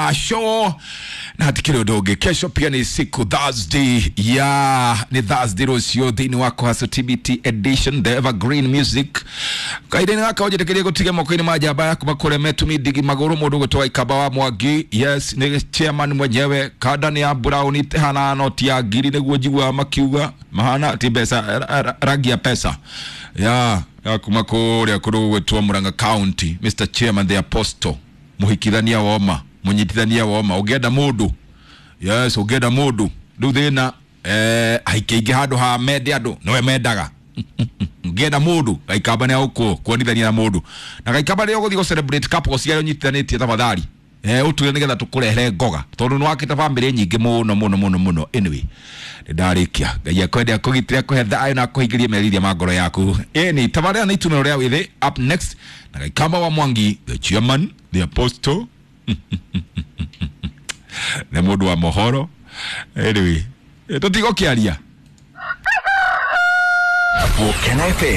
wa show na hatikiri undu ungi. Kesho pia ni siku Thursday, ya ni Thursday rucio thiini wa Kuhaso TBT edition, the evergreen music. Kaida-inĩ gaka ũnjĩtĩkĩrie gũtiga moko-inĩ ma njamba yaku makũreme tumindigi magũrũ mũndũ gwĩtwo Waikamba wa Mwangi. Yes, nĩ chairman mwenyewe. Kanda nĩ ya brown ĩhana noti ya ngiri nĩguo njiguaga makiuga mahana ti mbeca, rangi ya pesa ya kuma kũrĩa kũndũ gwĩtwo Murang'a County. Mr Chairman the Apostle, mũhikithania woma, mũnyitithania woma, ũngĩenda mũndũ, yes, ũngĩenda mũndũ rĩu thĩna aingĩ aingĩ handũ ha mende andũ nowe mendaga. Ngĩenda mũndũ Gaikamba nĩ agũkũ kuonithania na mũndũ na Gaikamba rĩrĩa ũgũthiĩ gũ celebrate couples iria ũnyitithanĩtie, tafadhali ũtwĩre nĩgetha tũkũrehere ngoga tondũ nĩ wakĩte bamĩrĩ nyingĩ mũno mũno mũno mũno. Anyway, nĩ ndarĩkia. Ngai akwende, akũgitĩre, akũhe thayũ na akũhingĩrie meriria ma ngoro yaku. Ĩni tabarĩra nĩ itumĩro rĩa wĩthĩ up next na Gaikamba wa Mwangi, the chairman the apostle, nĩ mũndũ wa mohoro. Anyway, tũtigũkĩaria. Volcano FM.